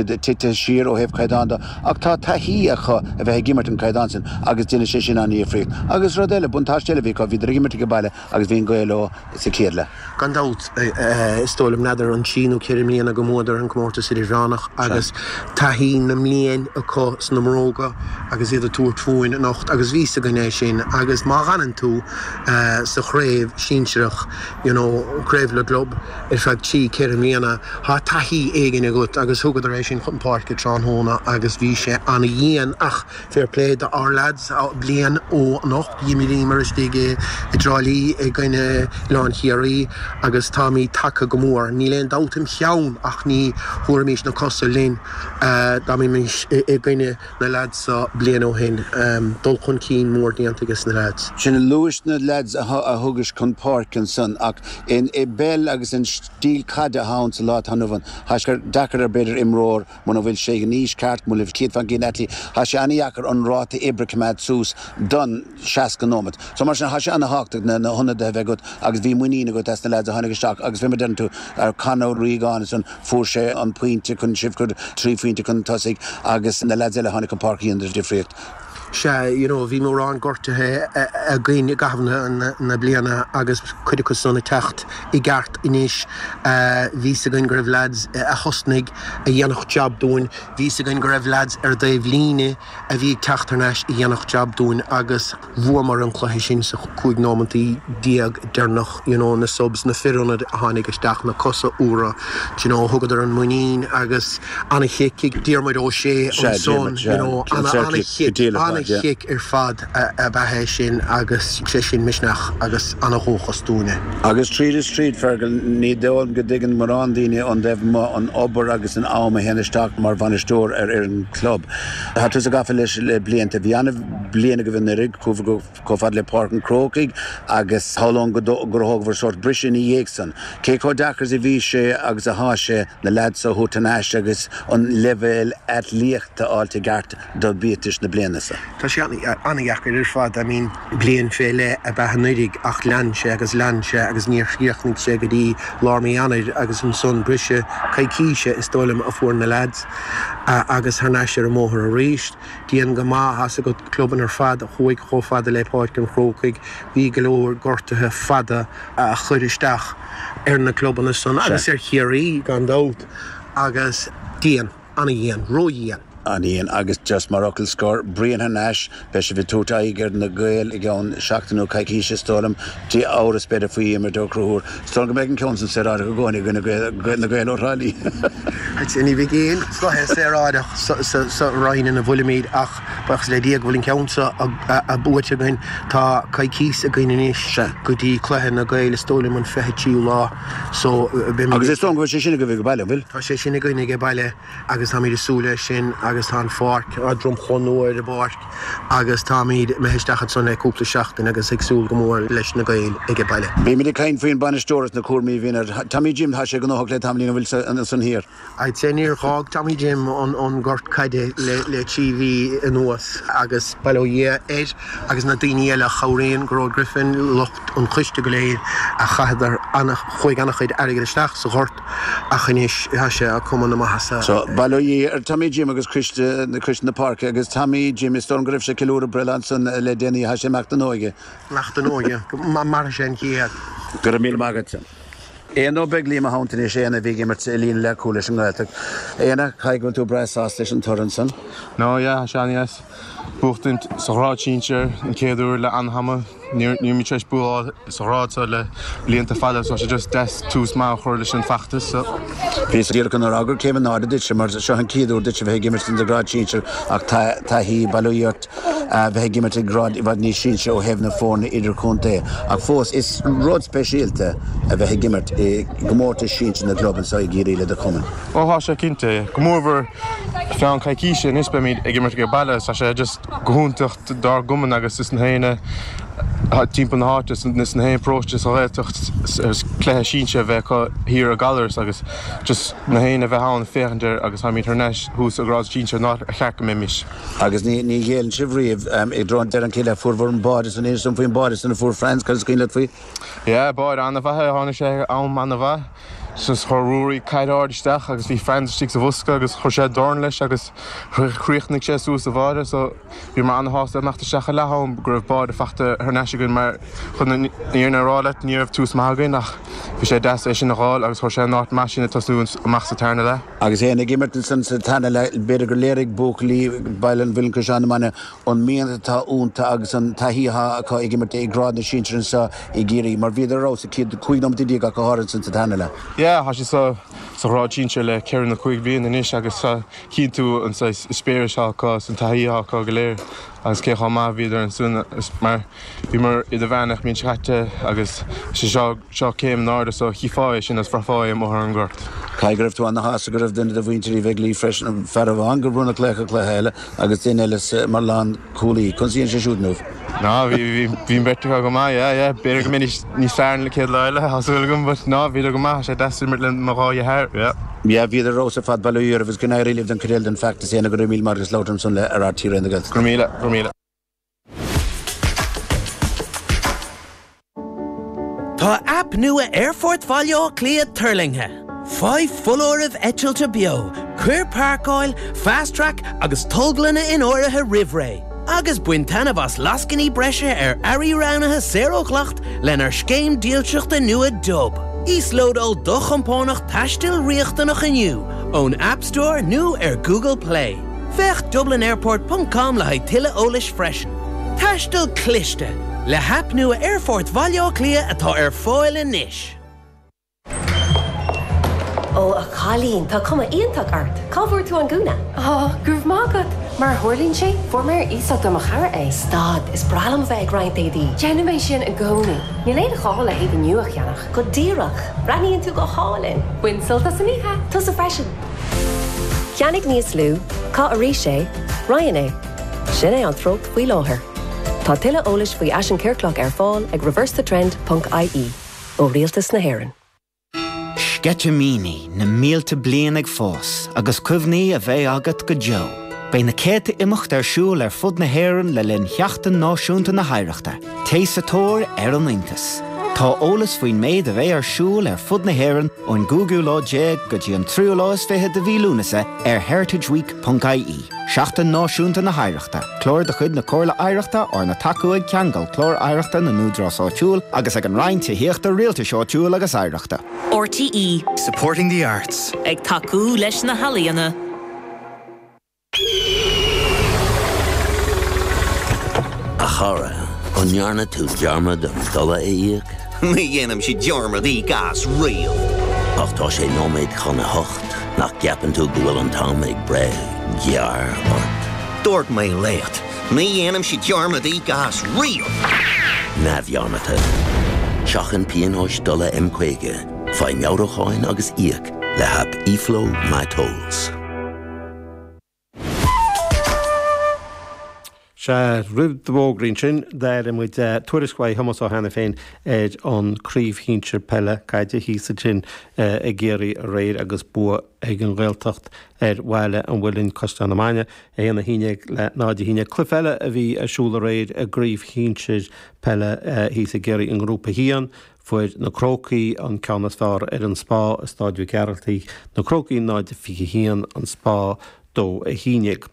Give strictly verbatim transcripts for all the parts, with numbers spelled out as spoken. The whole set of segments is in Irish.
Tite siar ó thaobh caighdeán de ach tá taithí acu a bheith ag imirt an caighdeán sin agus déanann sé sin an-difríocht. Agus rud eile, buntáiste eile bhí acu, bhíodar ag imirt ag baile agus bhí an gaoth leo sa chéad leath. Gan dabht, is dóigh liom n'fheadar an trí nó ceithre mbliana go mbuadar an comórtas idirmheánach agus taithí na mblian acu sna mbróga agus iad ag tabhairt fúinn anocht agus bhí 's againn é sin agus má fhanann tú sa chraobh sinsearach, you know, craobh na gclub ar feadh trí, ceithre mbliana, tá taithí éigin agat agus thugadar é sin chun páirce tráthnóna agus bhí sé an-dhian ach fair play do our lads bliain ó anocht d'imríomar istigh i dTrá Lí i gcoinne Oileán Chiarraí agus táimid tagtha go mór. Níl aon dabht im cheann ach ní thabharfaimis na cosa linn dá mbeimis i gcoinne na lads seo bliain ó shin. Dul chun cinn mór déanta ages na lads. Sin luais na lads a thugais chun páirce ansan ach i bpeil agus an stíl caide atá ann sa lá atá inniu ann, tá sé deacair ar b'fhéidir imreoir muna bhfuil sé in aois ceart, muna bhfuil céad faoin gcéad athléiteach, tá sé an-dheacair an ráta oibre a choimeád suas don seasca nóiméad. So mar sin, tá sé an-thábhachtach na hionadaithe a bheith agat agus bhí muinín agat as na lads a tháinig isteach agus fé mar deireann tú ar Conor Regan ansan fuair sé an pointe chun sibh chur trí phointe chun tosaigh agus na lads eile a tháinig chun páirce a dhéanadar difríocht. Sea, you know, bhí mórán gortuithe againn i gcaitheamh na bliana agus cuid acu san ag teacht i gceart anois. Bhí 's againn go raibh lads a thosnaigh a dhéanfadh jab dúinn, bhí 's againn go raibh lads ar dtaobh líne a bhí ag teacht thar n-ais a dhéanfadh jab dúinn agus bhuamar an cluiche sin sa cúig nóimeantaí déag deireanach, you know, na subs, na fir ionaid a tháinig isteach, na cosa úra, you know, thugadar an muinín agus ana-chic ag Diarmuid Ó Sé ansan, you know, ana-chic, ana-chic ar fad ab ea é sin agus sé sin misneach agus ana-dhóchas dúinne. Agus tríd is tríd, Fergal, ní dóigh liom go dtuigeann mórán daoine ón dtaobh amuigh an obair agus an am a théann isteach mar bhainisteoir ar fhoireann club. Tá tusa gafa leis le blianta. Bhí an-bhliain agaibh anuraidh, chuabhair chomh fada le Páirc an Chrócaigh agus shamhlóinn gur thógabhair sórt briseadh ina dhiaidh san. Cé chomh deacair is a bhí sé agus atá sé na leaids a thabhairt thar n-ais agus an leibhéal atlaíochta a fháilt i gceart do bhiatais na bliana seo? Tá sé an-dheacair ar fad. I mean, bliain fé leith ab ea anuraidh ach lean sé agus lean sé agus níor chríochnaigh sé go dtí lár mí Eanáir agus ansan briseadh coicíse is dóigh liom a fuair na leaids agus thar n-ais ar an mbóthar arís. Dian go maith, tá's agat clubanna ar fad a chuaigh chomh fada le Páirc an Chrócaigh, bhí go leor gortuithe fada a chuir isteach ar na clubanna san agus ar Chiarraí gan dabht agus dian, an-dhian, ródhian. An-dhian agus just mar fhocal scoir, Brian thar n-ais, beidh sibh ag tabhairt aghaidh ar na Gaeil i gceann seachtain nó coicíse is dóigh liom, Dé amhras b'fhéidir faoi Dhiarmuid Ó Conchúir. Is dóigh liom go mbeidh an ceann san saoráideach i gcónaí i gcoinne na Gaeil ó Thrá Lí. Ní bheidh aon chluiche saoráideach sa roinn ina bhfuilimid ach buíochas le Dia go bhfuil an ceann seo buaite againn. Tá coicís againn anois go dtí cluiche na Gaeil is dóigh liom an fiche tríú lá so beimid. Agus is dóigh liom go bhfuil sé sin agaibh ag baile, an bhfuil? Tá sé sin againn ag baile agus táimid ag súil leis sin agus tá an pháirc, tá dromchla nua ar an bpáirc agus táimid imithe isteach ansan le cúpla seachtain agus ag súil go mór leis na Gaeil ag baile. Bímid ag caint faoin bainisteoir is na cúraimí a bhíonn air. Tommy Jim, tá sé gnóthach le tamaillín, an bhfuil ansan thiar? I'd say níor dh'fhág Tommy Jim an an gort caide le le trí mhí anuas agus bail ó Dhia air agus na daoine eile a chabhraíonn, Gearóid Griffin, lucht an choiste go léir a chaitheadar ana chuaigh ana-chuid airgid isteach sa ghort ach anois tá sé ag cuma na maitheasa. So, bail ó Dhia ar Tommy Jim agus coiste coiste na páirce agus Tommy Jim is dóigh liom go raibh sé ag ceiliúradh breithlá ansan le déanaí, tá sé imeacht don óige. Imeacht don óige, go mairfidh sé an chéad. Go raibh míle maith agat. Éanna Ó Beaglaoich i mo theannta anois, Éanna a bhí ag imirt i líne leathchúil leis an nGaeltacht. Éanna, caithfidh go bhfuil tú breá sásta leis an toradh ansan? No, yeah, tá sé an-dheas. Buachtaint sa ghrád sinsir an chéad uair le an-ama. Níl muid tar éis bua sa ghrád seo le blianta fada so tá sé just deas tús maith a chur leis an bhfeachtas so. Bhíos díreach chun a rá gur céim in airde duitse mar seo an chéad uair duit a bheith ag imirt sa ghrád sinsir ach taithí, bail ó Dhia ort, a bheith ag imirt ag grád i bhfad níos sinse ó thaobh na foirne idirchontae ach fós is rud speisialta a bheith ag imirt i gcomórtas sinsir na gclub anseo i gCiarraí le do chumann. Ó tá sé cinnte, go mórmhór feadh coicíse anois beimid ag imirt ag baile so tá sé just go hiontach dár gcumann agus is na héinne timpeall na háite is na haon paróiste sa Ghaeltacht cluiche sinsir a bheith acu thiar i gCallaros agus just na héinne a bheith ann féachaint air agus táimid thar n-ais thuas i grád sinsir an áit ar cheart go mbeimis. Agus ní ní ghéilleann sibh riamh i dtreo an deireadh an chéad leath fuair an báide san inis dom faoin báide san a fuair Franz cad is cuimhin leat faoi? Yeah báide an-mhaith é tháinig sé am an-mhaith Just chuir Ruairí caid ard isteach agus bhí Franz istigh sa bhosca agus chuir sé dorn leis agus chríochnaigh sé suas sa bháide so bhíomar an-shásta imeacht isteach ag leath am go raibh báide faighte thar n-ais againn mar chun an fhírinne a rá leat ní raibh tús maith againn ach bhí sé deas é sin a fháil agus chuir sé in áit maith sinn ag tosnú amach sa tarna leath. Agus é ag imirt ansan sa tarna leath b'fhéidir gur léirigh buachaillí Baile an Mhuilinn Caisleán na Mine an mian atá iontu agus an taithí atá acu ag imirt i grád na sinsear anseo i gCiarraí mar bhíodar ar fheabhas sa chéad cúig nóiméad déag ach go háirithe ansan sa tarna leath. Yeah, tá sé sa sa ghrád sinsir le ceithre nó cúig bliain anois agus cinntiú an eispéireas acu san taithí acu go léir agus cé chomh maith bhíodar ansin mar bhíomar idirmheánach an bhliain seo caite agus sé seo seo céim in airde so chífeá é sin is bhraithfeá é amuigh ar an ngort. Caithfidh go raibh tú ana-shásta go raibh duine de mhuintir Uí Bheaglaoich freisin fear amháin gur bronnadh laoch an chluiche eile agus duine eile mar lánchúlaí. Conas a dhéan sé siúd inniu? Ná bhí bhí beirt acu go maith, yeah, yeah. B'fhéidir go mbeidís níos fearr an chéad lá eile, tá súil agam, but ná bhíodar go maith, sé deas imirt le mo dhá dheartháir, yeah. Yeah, bhíodar ar fheabhas ar fad bail ó Dhia oraibh agus go n-éirí libh don chuid eile den fheachtas Éanna go raibh míle maith agat as labhairt ansan le ar RTÉ Raidió na Gaeltachta. Go raibh míle, go raibh míle. Tá aip nua Aerfort Bhaile Átha Cliath tuirlingthe. Faigh foláirimh eitilte beo, cuir páirceáil, fast track agus tolglanna in áirithe roimh ré. Agus bain taitneamh as lascainí breise ar earraí roghnaithe saor ó dhleacht lenár scéim dílseachta nua Dub. Íoslódáil do chompánach taistil riachtanach inniu ón App Store nó ar Google Play. Féach dublinairport.com le haghaidh tuilleadh eolais freisin. Taisteal cliste le haip nua Aerfort Bhaile Átha Cliath atá ar fáil anois. Ó a chailín, tá cuma iontach ort. Cá bhfuair tú an gúna? Á, go raibh maith agat. Mar a tharlaíonn sé, fuair mé ar iasacht ó mo chara é. Stad, is breá liom bheith ag roinnt éadaí. Déanfaidh mé sin i gcónaí. Níl aon ghá le héadaí nua a cheannach. Go díreach, breathnaíonn tú go hálainn. Bain sult as an oíche. Tusa freisin. Ceannaigh níos lú, caith arís é, roinn é. Sin é an treocht faoi láthair. Tá tuilleadh eolais faoi fhaisean ciorclach ar fáil ag reversethetrend.ie ó Rialtas na hÉireann. Sceitimíní na mílte bliain ag fás agus cuimhní a bheidh agat go deo. Beidh na céadta imeacht ar siúl ar fud na hÉireann le linn Sheachtain Náisiúnta na hOidhreachta, Téigh sa tóir ar an iontas. Tá eolas faoin méid a bheidh ar siúl ar fud na hÉireann ón gcúigiú lá déag go dtí an tríú lá is fiche de mhí Lúnasa ar heritageweek.ie. Seachtain Náisiúnta na hOidhreachta, Clár de chuid na Comhairle Oidhreachta arna tacú ag Ceangal Clár Oidhreachta na nÚdarás Áitiúil agus ag an Roinn Tithíochta Rialtais Áitiúil agus Oidhreachta. RTE Supporting the arts. Ag tacú leis na healaíona. A chara, an ndearna tú dearmad an dola a íoc? Ní dhéanaimse dearmad íoc as riamh. Ach tá sé nóiméad chun a hocht nach gceapann tú go bhfuil an t-am ag breith gearr ort. Dúirt mé leat, ní dhéanaimse dearmad íoc as riamh. Neamhdhearmadta. Seachain pionóis dola M caoga, faigh meabhrúcháin agus íoc le haip eFlow MyTolls. Sea, roimh na fógraí sin d'airigh muid tuairisc uaidh Thomas Ó hAiniféin ar an craobh shinsir peile caide thíos ansin i gCiarraí aréir agus bua ag an Ghaeltacht ar Bhaile an Mhuilinn Caisleán na Mine, a haon a haon déag le náid a haon déag. Cluiche eile a bhí ar siúl aréir i gcraobh shinsir peile thíos i gCiarraí i ngrúpa a haon. Fuair na Crócaigh an ceann is fearr ar an Spá i Staid Mhic Gearaltaigh, na Crócaigh náid fiche haon, an Spá dó a haon déag.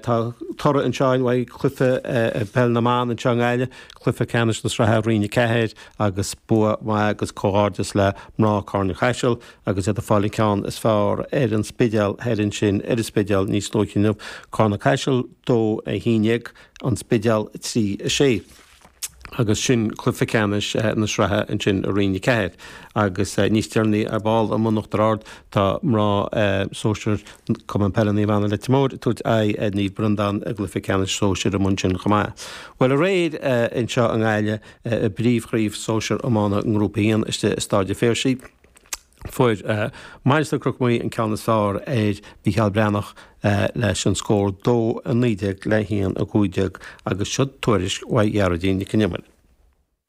Tá toradh anseo uaidh cluiche peil na mban anseo i nGaillimh, cluiche ceannais na sraithe Roinn a ceathair agus bua maith agus comhghairdeas le mná Carna Caiseal agus iad ag fáil an ceann is fearr ar an Spidéal thoir ansin ar an Spidéal níos luaithe inniu. Carna Caiseal dó a haon déag, an Spidéal trí a sé. Agus sin cluiche ceannais na sraithe ansin i Roinn a ceathair. Agus níos deireanaí ar ball i mBun Uachtar Ard tá mná sóisir Cumann Peile Naomh Anna Leitir Móir ag tabhairt aghaidh ar Naomh Breandán i gcluiche ceannais sóisir amuigh ansin chomh maith. Bhuel aréir anseo i nGaillimh i bpríomhchraobh sóisir iomána i nGrúpa a haon istigh i Staid an Phiarsaigh, Fuair Mainistir Chnoc Muaidhe an ceann is fearr ar Mhícheál Breathnach leis an scór dó a naoi déag le haon a cúig déag agus seo tuairisc uaidh Ghearóidín Nic an Iomaire.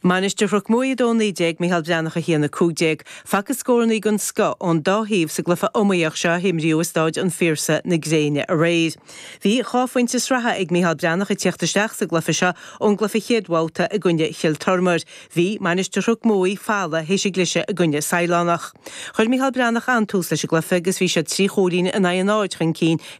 Mainistir Chnoc Muaidhe a dó naoi déag, Micheál Breathnach a haon a cúig déag. Facthas scórannaí den scoth ón dá thaobh sa gcluiche iomaíoch seo a himríodh i Stáid an Phiarsaigh na gréine aréir. Bhí dhá phointe sraithe ag Micheál Breathnach ag tíocht isteach sa gcluiche seo ón gcluiche chéad bhabhta i gcoinne Chill Tormair. Bhí Mainistir Chnoc Muaidhe folamh théis a gcliseadh i gcoinne Saighleánach. Chuir Micheál Breathnach an-tús leis an gcluiche agus bhí siad trí chúilín in aghaidh a náid chun cinn